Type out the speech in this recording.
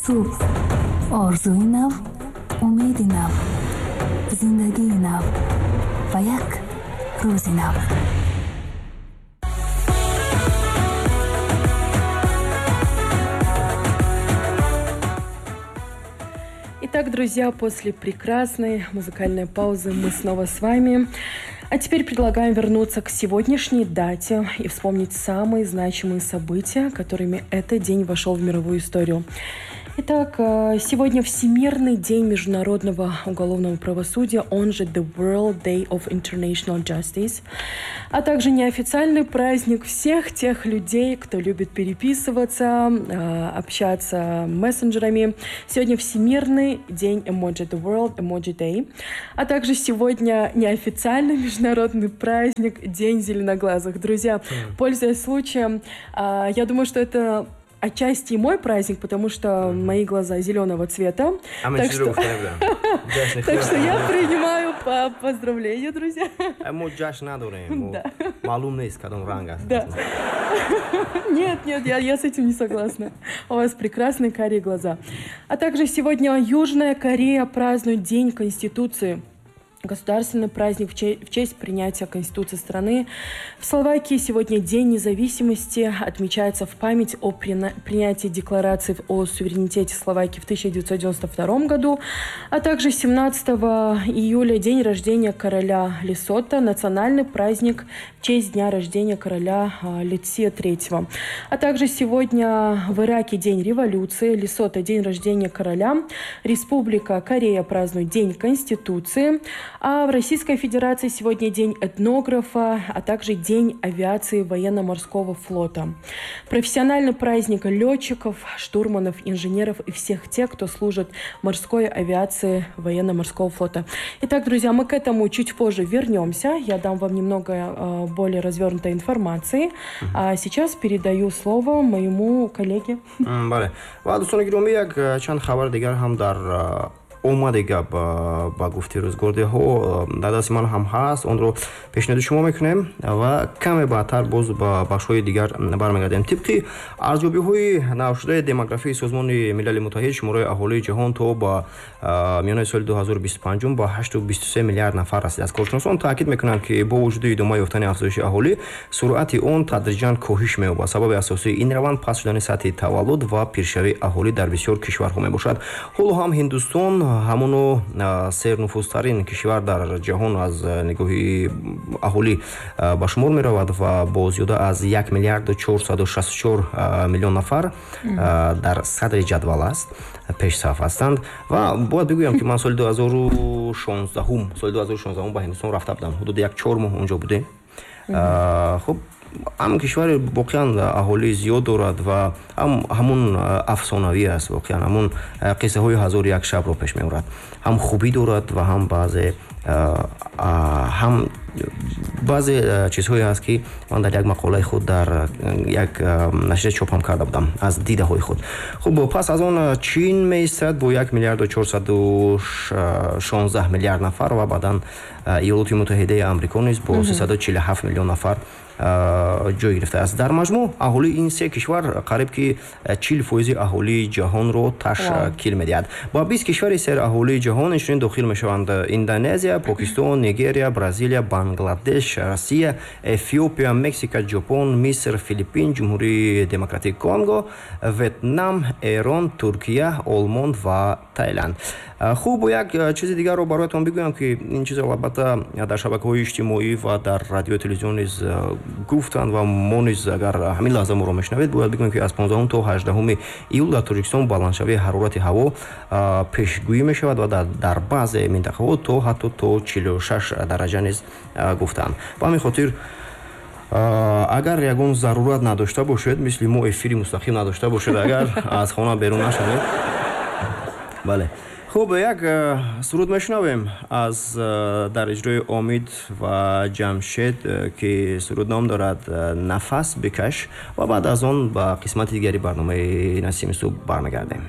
Субҳ, орзуи нав, умеди нав, зиндагии нав ва як рӯзи нав. Итак, друзья, после прекрасной музыкальной паузы мы снова с вами. А теперь предлагаем вернуться к сегодняшней дате и вспомнить самые значимые события, которыми этот день вошел в мировую историю. Итак, сегодня Всемирный день международного уголовного правосудия, он же The World Day of International Justice, а также неофициальный праздник всех тех людей, кто любит переписываться, общаться мессенджерами. Сегодня Всемирный день эмоджи, The World Emoji Day, а также сегодня неофициальный международный праздник День зеленоглазых. Друзья, пользуясь случаем, я думаю, что это отчасти и мой праздник, потому что мои глаза зеленого цвета. Так что я принимаю поздравления, друзья. Да. Нет, нет, я с этим не согласна. У вас прекрасные карие глаза. А также сегодня Южная Корея празднует День Конституции. Государственный праздник в честь принятия Конституции страны. В Словакии сегодня День независимости отмечается в память о принятии декларации о суверенитете Словакии в 1992 году, а также 17 июля день рождения короля Лесото, национальный праздник в честь дня рождения короля Летсия III. А также сегодня в Ираке День революции, Лесото день рождения короля, Республика Корея празднует День Конституции. А в Российской Федерации сегодня День этнографа, а также День авиации военно-морского флота. Профессиональный праздник летчиков, штурманов, инженеров и всех тех, кто служит морской авиации военно-морского флота. Итак, друзья, мы к этому чуть позже вернемся. Я дам вам немного более развернутой информации. А сейчас передаю слово моему коллеге. Бале. Ва дӯстони гиромӣ, як чанд хабар дигар ҳам дар омаде гап ба гуфти рӯзгордиҳо дар дасти ман ҳам ҳаст, онро пешниҳоди шумо мекунем ва каме баъдтар боз ба бахшҳои дигар бармегардем. Тибқи арзёбиҳои навшудаи демографии Созмони Милали Муттаҳид, шумораи аҳолии ҷаҳон то ба миёнаи соли 2025 ба 8,23 миллиард нафар расидааст. Коршиносон таъкид мекунанд, ки бо вуҷуди идома ёфтани афзоиши аҳолӣ, суръати он тадриҷан коҳиш меёбад. Сабаби асосии ин раванд паст шудани сатҳи таваллуд ва пиршавии аҳолӣ дар бисёр кишварҳо мебошад. Ҳоло ҳам Ҳиндустон ҳамоно сернуфузтарин кишвар дар ҷаҳон аз нигоҳи аҳолӣ ба шумор меравад ва бо зиёда аз 1 миллиарду 464 миллион нафар дар садри ҷадвал аст, пешсаф ҳастанд. Ва бояд бигӯям, ки ман соли 2016 ба Ҳиндустон рафта будам, ҳудуди як 4 моҳ онҷо будем. Хуб, ҳам кишвари воқеан аҳолии зиёд дорад ва ҳам ҳамун афсонавӣ аст, воқеан ҳамун қиссаҳои ҳазору як шабро пеш меорад. Ҳам хубӣ дорад ва ҳам баъзе чизҳое ҳаст, ки ман дар як мақолаи худ дар як нашрия чоп ҳам карда будам аз дидаҳои худ. Хуб, пас аз он Чин меистад бо 1 миллиарду 416 миллиард нафар ва баъдан Иёлоти Муттаҳидаи Амрико низ бо 347 миллион нафар ҷой гирифтааст. Дар маҷмӯъ аҳолии ин се кишвар қариб ки 40% аҳолии ҷаҳонро ташкил медиҳад. Ба 20 кишвари сераҳолии ҷаҳон инчунин дохил мешаванд Индонезия, Покистон, Нигерия, Бразилия, Бангладеш, Россия, Эфиопия, Мексика, Ҷопон, Миср, Филиппин, Ҷумҳурии Демократии Конго, Ветнам, Эрон, Туркия, Олмон ва Таиланд. Хуб, як чизи дигарро бароятон бигӯям, ки ин чиз албатта дар шабакаҳои иҷтимоӣ ва дар радио телевизион низ гуфтанд ва мо низ агар ҳамин лаҳза моро мешунавед, бояд бигӯем, ки аз 15 то 18 июл дар Тоҷикистон баландшавии ҳарорати ҳаво пешгӯӣ мешавад ва дар баъзе минтақаҳо то ҳатто то 46 дараҷа низ гуфтанд. Ба ҳамин хотир агар ягон зарурат надошта бошед, мисли мо эфири мустақим надошта бошед, агар аз хона берун нашавед. Бале. Хуб, як суруд мешунавем аз дар иҷрои Омид ва Ҷамшед, ки суруд ном дорад «Нафас бикаш», ва баъд аз он ба қисмати дигари барномаи Насими субҳ бармегардем.